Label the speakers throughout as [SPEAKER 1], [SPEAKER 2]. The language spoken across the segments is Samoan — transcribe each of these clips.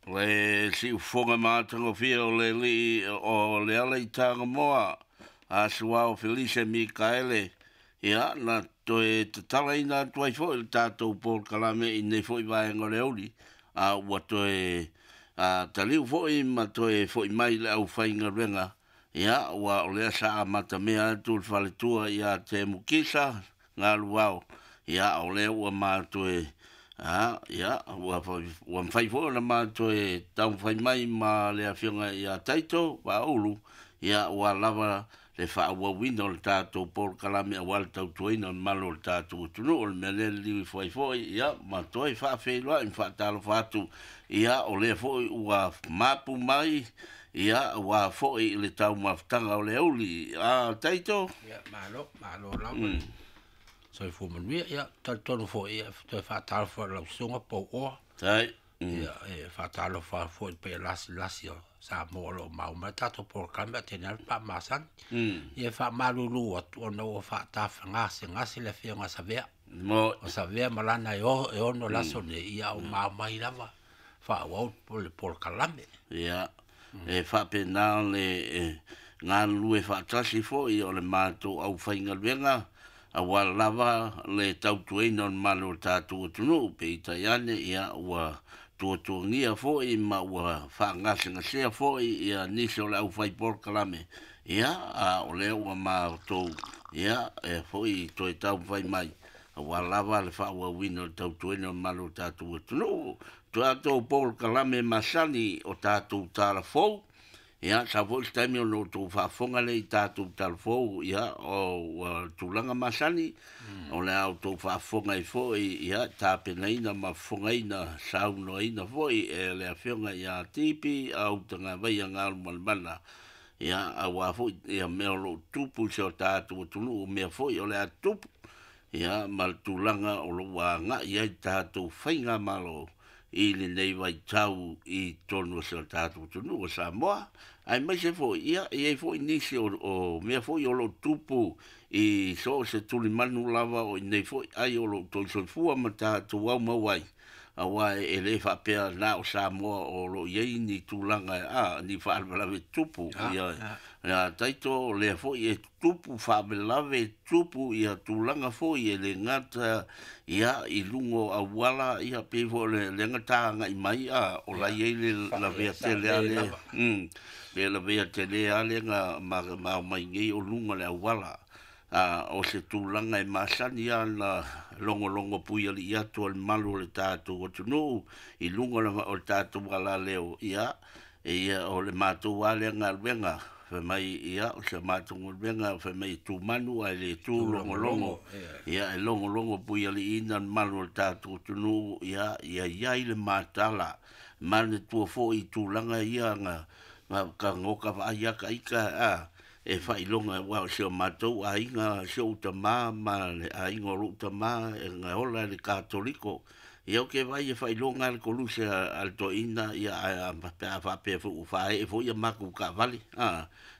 [SPEAKER 1] Le siufofoga matagofie o le alii o Leala i Tagamoa, Asuao Felise Mikaele, ia na toe tatalaina atu ai foi le tatou polokalame i nei foi vaega o le auli, a ua toe taliu foi ma toe foi mai le aufaigaluega, ia ua o lea sa amatamea atu le faletua ia Temu Kisa Galuao, ia o lea ua matoe ia ua mafai foi ona matoe taumafai mai ma le afioga ia Taito Vaaulu, ia ua lava le faaauauina o le tatou polokalame aua le tautuaina o le mamalu o le tatou atunuu. O le mea lea e liliu ifo ai foi, ia ma toe faafeiloai ma faatalofa atu, ia o lea foi ua mapu mai, ia ua foi i le taumafataga o le auli. Taito?
[SPEAKER 2] Ia, malo, malo lava. Soifua manuia. Ia, talitonu foi, ia, toe faatalofa i lau susuga Pouoa.
[SPEAKER 1] Tai.
[SPEAKER 2] Ia, e faatalofa foi i le paia lasilasi o Samoa o lo o maua mai tatou polokalame a tene le faamasani. Ia, e faamalulu atu ona ua faatafagasegase le afioga Savea.
[SPEAKER 1] Mo.
[SPEAKER 2] O Savea ma lana e o, e ono laso nei, ia o maua mai lava faaauau le polokalame.
[SPEAKER 1] Ia, e faapena le galulue faatasi foi o le matou aufaigaluega, aua lava le tautuaina o le mamalu o le tatou atunuu, peitai ane, ia ua tuatuagia foi ma ua faagasegasea foi ia nisi o le aufai polokalame, ia a o lea ua matou, ia e foi toe taumafai mai, aua lava le faaauauina o le tautuaina o le mamalu o le tatou atunuu. Tatou polokalame masani o tatou talafou, ia sau foi se taimi ona outou faafofoga lea i tatou talafou, ia o ua tulaga masani, o le a outou faafofoga ai foi, ia tapenaina ma fofogaina saunoaina foi e le afioga ia Tipi Autagavaia Galumalemana, ia aua foi ia mea o lo o tupu i si o tatou atunuu, mea foi o le a tupu, ia ma le tulaga o lo o ua agai ai tatou faigamalo i lenei vaitau i totonu o si o tatou atunuu o Samoa, aemaise foi, ia, e i ai foi nisi o mea foi o lo o tupu i so o se tulimanu lava o i nei foi ai o lo o toe soifua ma tatou aumau ai, aua e le faapea na o Samoa o lo o i ai ni tulaga, ni faalavelave tupu, ia, ia Taito, o lea foi e tupu faalavelave tupu ia tulaga foi e le gata, ia i luga o auala, ia pei foi o le lega tagai mai, o la i ai le lavea tele a le, le lavea tele a le ga ma mai nei o luga o le auala. O se tulaga e masani ana logologo pui alii atu o le mamalu o le tatou atunuu i luga o le tatou alaleo, ia ia o le matou a lea galuega, fai mai, ia o se matou galuega, fai mai e tumanu ae le tu logologo, ia e logologo pui aliiina le mamalu o le tatou atunuu, ia ia iai le matala manatua foi i tulaga ia ga ka goka vaai a ka ika e faailoga, aua o si o matou aiga, si ou tamā ma le aiga o lou tamā e gaola i le Katoliko. Ia ou te vaai e faailoga le koluse a le toeaina, ia ae pe a faapea foi ua faaee foi ia matou taavale,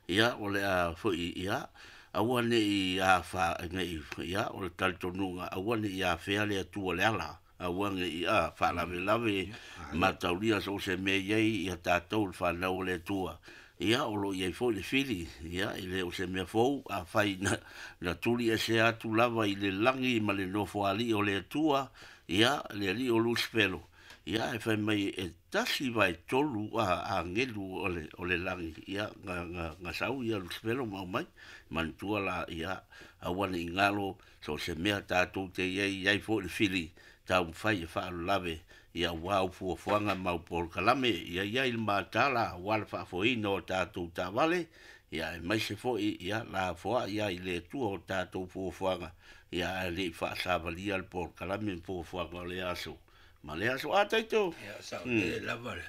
[SPEAKER 1] ia o le a foi, ia aua ne i afa nei, ia o le talitonuga aua ne i afea le Atua le ala, aua ne i faalavelave mataulia so o se mea i ai ia tatou le fanau o le Atua. Ia o lo o i ai foi le fili, ia e le o se mea fou, afai na tuli ese atu lava i le lagi ma le nofoalii o le Atua, ia le alii o Lusifelo, ia e fai mai e tasi vae tolu agelu o le lagi, ia ga sau ia Lusifelo ma aumai manatua la, ia aua ne i galo so o se mea tatou te i ai, i ai foi le fili taumafai e faalalave, ia aua au fuafuaga ma au polokalame, ia i ai le matala aua le faafoeina o tatou taavale, ia aemaise foi ia lafoai ai le Atua o tatou fuafuaga, ia ae le i faasavalia le polokalame ma fuafuaga o le aso ma le aso. Taito.
[SPEAKER 2] Ia, saolele lava le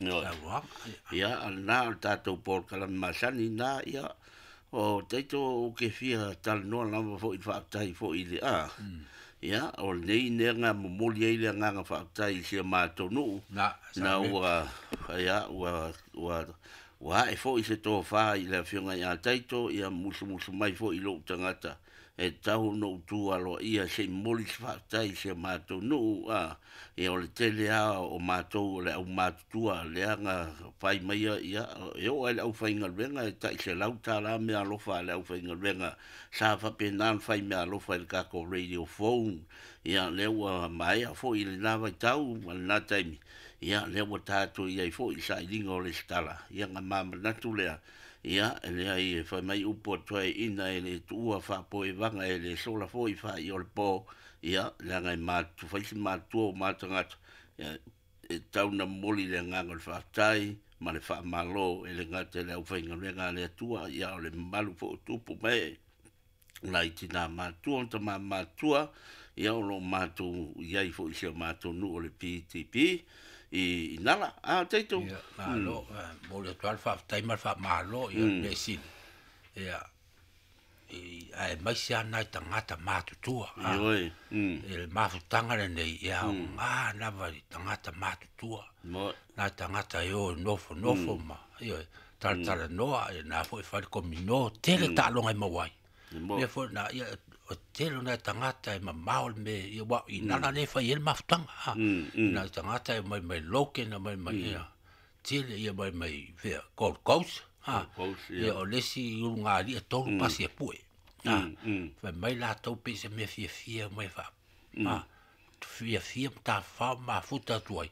[SPEAKER 2] saunoaga.
[SPEAKER 1] Ia, na o le tatou polokalame masani na, ia o Taito ou te fia talanoa lava foi faafetai foi i le ia o lenei nega momoli ai le agaga faafetai i si a matou nuu
[SPEAKER 2] na
[SPEAKER 1] ua ia ua ae foi se tofa i le afioga ia Taito, ia musumusu mai foi i lou tagata. e tatau ona ou tu aloaia se i momoli se faafetai i si o matou nuu, a, ia o le tele lava o matou o le aumatutua lea na fai maia, ia, e oo lava i le aufaigaluega e tai $100 meaalofa a le aufaigaluega sa faapena ona fai meaalofa i le tatou radio phone. Ia lea ua maea foi lena vaitau ma lena taimi, ia lea ua tatou i ai foi i sailiga o lesitala, ia na ma manatu lea, ia e leai e fai mai upu a toeaiina e le tuua faapoevaga e le sola foi faai o le po, ia leaga e matutu fai si matutua o ma tagata, ia e tatau ona momoli le agaga o le faafetai ma le faamalo e le gata i le aufaigaluega a le Atua, ia o le mamalu foi o tupu ma ee nai tina matua ma tama matua, ia o lo o matou i ai foi i si o matou nuu o le PTP i Nala. A Taito?
[SPEAKER 2] Ia, malo, momoli atu lava le faafetai ma le faamalo, ia, mea sili, ia, aemaise lava nai tagata matutua.
[SPEAKER 1] Ioe.
[SPEAKER 2] I le mafutaga lenei, e aoga lava i tagata matutua. Nai tagata e o e nofonofo ma, ioe, talatalanoa, ia na foi e fai le komino, tele taaloga e maua ai. Mea foi na, ia, o tele o nai tagata e mamao le mea, ia, aua i Nala lea e fai ai le mafutaga, a. Nai tagata e omai mai Logan, omai mai, ia, tele, ia omai mai fea, Gold Coast, a. Ia, o le isi ulugalii e 3 pasi e pue, a. Fai mai latou pei se mea fiafia omai fiafia ma tafafao ma mafuta atu ai.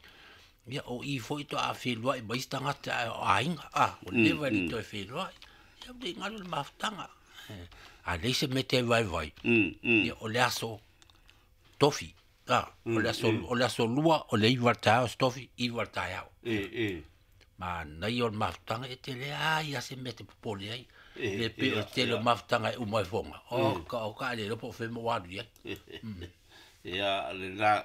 [SPEAKER 2] Ia, o i foi toa feiloai ma isi tagata ae o aiga, a, ua leva e le toe feiloai. Ia, ua le galo le mafutaga. A leai se mea te vaivai, ia, o le aso tofi, a, o le aso, o le aso 2, o le 9 o le taeao aso tofi, 9 o le taeao. Manaia o le mafutaga, e te leai lava se mea e te popole ai. Le pei o le tele o mafutaga e uma ai foga, o ka, o ka le iloa po o fea mo alu i ai.
[SPEAKER 1] Ia, lena,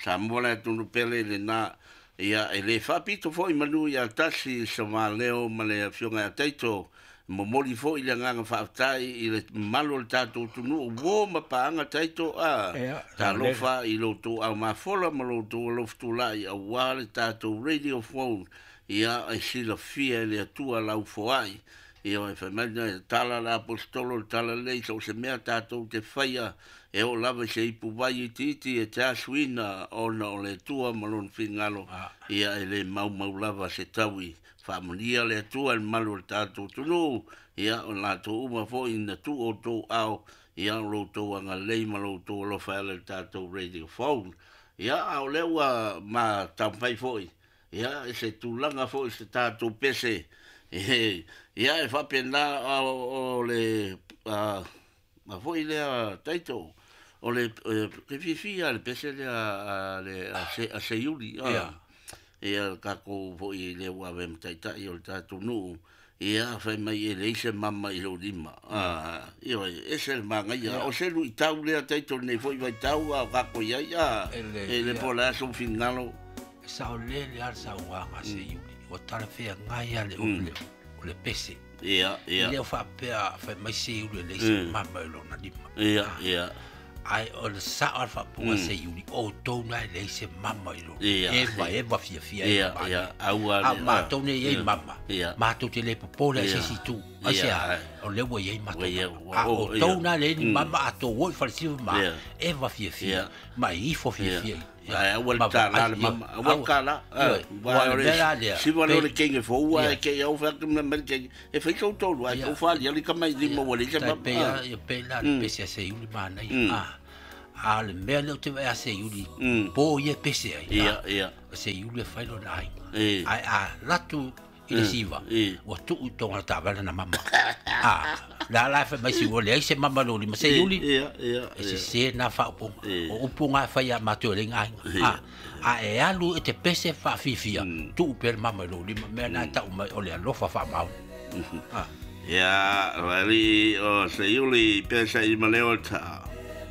[SPEAKER 1] Samoa le atunuu pele lena, ia, e le faapito foi manu ia tasi Savaleo ma le afioga ia Taito, momoli foi le agaga faafetai i le mamalu o le tatou atunuu, uo ma paaga Taito, a, talofa i lo outou aumafola ma lo outou alofa tulai aua le tatou radio phone, ia, e silafia e le Atua lau foai. Ia, e fai mai le tala a le aposetolo, le tala lelei, so o se mea tatou te faia, e oo lava i se ipuvai itiiti e te asuina ona o le Atua ma lona finagalo, ia e le maumau lava se taui. Faamanuia le Atua i le mamalu o le tatou atunuu, ia o latou uma foi na tuu outou ao, ia o lo outou agalelei ma lo outou alofa e ala i le tatou radio phone. Ia, a o lea ua ma taumafai foi, ia, i se tulaga foi i se tatou pese, ia e faapena o le a foi lea Taito, o le ke fiafia le pese lea a le a Seiuli, a. Ia le tatou foi lea ua avea ma taitai o le tatou nuu, ia fai mai e leai se mama i lou lima, a, ioe, ese le manaia, o se luitau lea Taito i lenei foi vaitau a o tatou i ai, a, e le po o le a sou finagalo.
[SPEAKER 2] E saolele lava le saunoaga a Seiuli, ua talafeagai lava le o le pese.
[SPEAKER 1] Ia, ia.
[SPEAKER 2] E le o faapea fai mai Seiuli e leai se mama i lona lima.
[SPEAKER 1] Ia, ia.
[SPEAKER 2] Ae o le sao a le faapuga a Seiuli, o outou na e leai se mama i lona. Eva, eva fiafia
[SPEAKER 1] ai
[SPEAKER 2] ma
[SPEAKER 1] Ia, ia, aua
[SPEAKER 2] A o matou nei e i ai mama, matou te le popole ai se isi itu. Aisea? O lea ua i ai matou mama. A o outou na e leai ni mama, a outou o i falesiva ma, eva fiafia, ma e ifo fiafia i.
[SPEAKER 1] Ae aua le tala le mama, aua le tala. Ua o le siva lea o le kenge fou ae ke i au fai atu mai le kenge. E fai sou tolu ae tou fali ali tama i lima ua leai se mama.
[SPEAKER 2] Tai pei a pei la le pese a Seiuli manaia. A o le mea lea ou te vaai a Seiuli, po ia e pese ai.
[SPEAKER 1] Ia, ia.
[SPEAKER 2] O Seiuli e fai lona aiga. Ae a alu atu i le siva, ua tuu i totonu o le taavale lana mama. A, la la e fai mai si ua leai se mama i lou lima. Seiuli, e sese na faaupuga. O upu na e fai ia matou e leai ni aiga. A, a e alu e te pese faafiafia, tuu pea le mama i lou lima. Mea na e tau mai o le alofa faamaoni.
[SPEAKER 1] A. Ia, o alii o Seiuli, pesa i Maleota.